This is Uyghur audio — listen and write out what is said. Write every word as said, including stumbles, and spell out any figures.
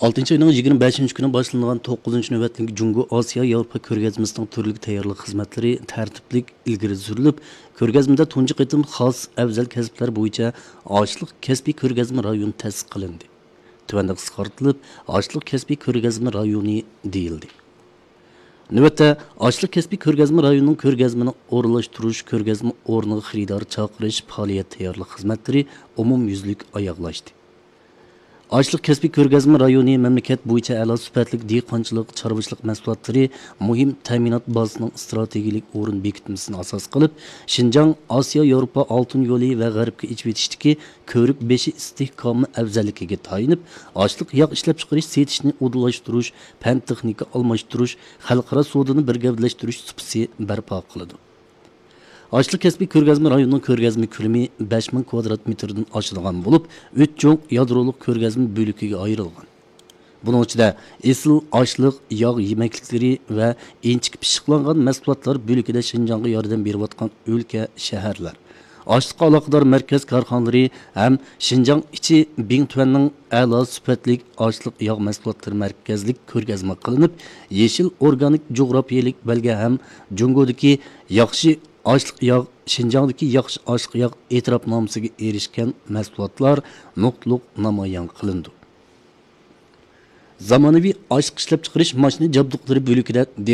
ئالتىنچى ئاينىڭ يىگىرمە بەشىنچى كۈنى باشلىنىدىغان توققۇزىنچى نۆۋەتلىك جۇڭگو ئاسىيا ياۋروپا كۆرگەزمىسىنىڭ تۈرلۈك تەييارلىق خىزمەتلىرى تەرتىپلىك ئىلگىرى سۈرۈلۈپ، كۆرگەزمىدە تۇنجى قېتىم خاس ئەۋزەل كەسىپلەر بويىچە ئاشلىق كەسپىي كۆرگەزمە رايونى تەسىس قىلىندى. تۆۋەندە قىسقارتىلىپ، ئاشلىق كەسپىي كۆرگەزمە رايونى دېيىلدى. نۆۋەتتە، ئاشلىق كەسپىي كۆرگەزمە رايونىنىڭ كۆرگەزمىنى ئورۇنلاشتۇرۇش، كۆرگەزمە ئورنىغا خېرىدار چاقىرىش پائالىيەت تەييارلىق خىزمەتلىرى ئومۇميۈزلۈك ئاياغلاشتى. ئاشلىق كەسپىي كۆرگەزمە رايونى مەملىكەت بويىچە ئەلا سۈپەتلىك دېھقانچىلىق، چارۋىچىلىق مەھسۇلاتلىرى مۇھىم تەمىنات بازىسىنىڭ ئىستراتېگىيەلىك ئورۇن بېكىتمىسىنى ئاساس قىلىپ، شىنجاڭ ئاسىيا ياۋروپا ئالتۇن يولى ۋە غەربكە ئېچىۋېتىشتىكى كۆۋرۈك بېشى ئىستىھكامى ئەۋزەللىكىگە تايىنىپ، ئاشلىق ياغ ئىشلەپچىقىرىش سېتىشنى ئۇدۇللاشتۇرۇش، پەن تېخنىكا ئالماشتۇرۇش، خەلقئارا سودىنى بىر گەۋدىلەشتۈرۈش سۇپىسى بەرپا قىلىدۇ. ئاشلىق كەسپىي كۆرگەزمە رايونىنىڭ كۆرگەزمە كۆلىمى بەش مىڭ كۋادرات مېتىردىن ئاشىدىغان بولۇپ، ئۈچ چوڭ يادرولۇق كۆرگەزمە بۆلىكىگە ئايرىلغان. بۇنىڭ ئىچىدە ئېسىل ئاشلىق، ياغ يېمەكلىكلىرى ۋە ئىنچىكە پىششىقلانغان مەھسۇلاتلار بۆلىكىدە شىنجاڭغا ياردەم بېرىۋاتقان ئۆلكە، شەھەرلەر، ئاشلىققا ئالاقىدار مەركەز كارخانىلىرى ھەم شىنجاڭ ئىچى بىڭتۈەننىڭ ئەلا سۈپەتلىك ئاشلىق ياغ مەھسۇلاتلىرى مەركەزلىك كۆرگەزمە قىلىنىپ، يېشىل ئورگانىك جۇغراپىيەلىك بەلگە ھەم جۇڭگودىكى ياخشى ئاشلىق ياغ، شىنجاڭدىكى ياخشى ئاشلىق ياغ ئېتىراپنامىسىگە ئېرىشكەن مەھسۇلاتلار نۇقتىلىق نامايان قىلىنىدۇ. زامانىۋى ئاشلىق ئىشلەپچىقىرىش ماشىنا جابدۇقلىرى بۆلىكىدە